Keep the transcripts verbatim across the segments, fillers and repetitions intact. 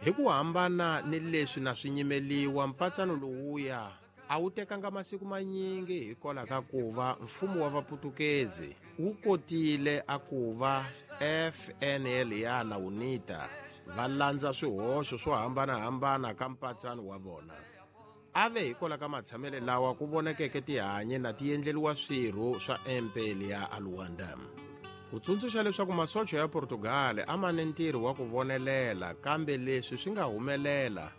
Hi ku hambana ni leswi na swi nyimeliwa, mpatsano lowuya a wu tekanga masiku manyingi hikwalaho ka ku va mfumo wa Vaputukezi wu kotile a ku va F N L ya na UNITA va landza swihoxo swo hambanahambana ka mpatsano wa vona. A ve hikwalaho ka matshamele lawa ku vonakeke tihanyi na ti endleriwa swirho swa M P L ya Luanda. Ku tsundzuxa leswaku masocha ya Portugal a ma ni ntirho wa ku vonelela, kambe leswi swi nga humelela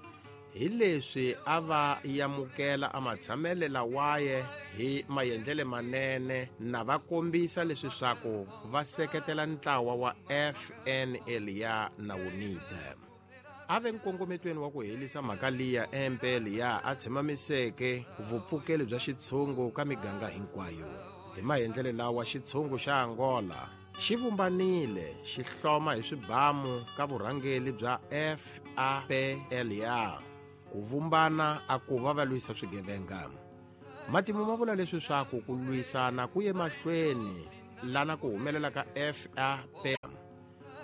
hi leswi a va yamukela a matshamele lawaye hi maendlele manene na va kombisa leswi swaku va seketela ntlawa wa F N L ya na UNITA. A ve nkongometweni wa ku helisa mhaka liya M P L ya a tshemamiseke vupfukeli bya xitshungu ka miganga hinkwayo. Hi maendlele lawa xitshungu xa Angola xi vumbanile xi hloma hi swibamu ka vurhangeli bya F A P L ya ku vumbana a ku va va lwisa swigevenga. Matimu ma vula leswi swaku ku lwisana ku ye mahlweni lana ku humelela ka F A P.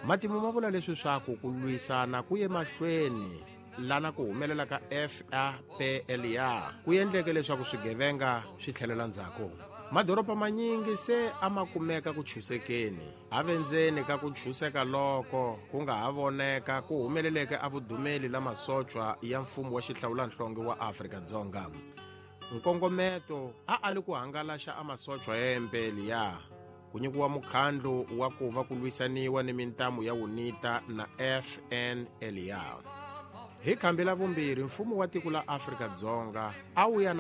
Matimu ma vula leswi swaku ku lwisana ku ye mahlweni lana ku humelela ka F A P L ya ku endleke leswaku swigevenga swi tlhelela ndzhaku. Madoroba manyingi se a ma kumeka ku chusekeni. A ve ndzeni ka ku chuseka loko ku nga ha voneka ku humeleleke a vudumeli la masochwa ya mfumo wa xihlawulanhlonge wa Afrika-Dzonga. Nkongometo a a li ku hangalaxa a masochwa ya M P L ya ku nyikiwa mukhandlu wa ku va ku lwisaniwa ni mintamu ya UNITA na F N L ya. Hi khambi la vumbirhi mfumo wa tiko la Afrika-Dzonga a wu ya na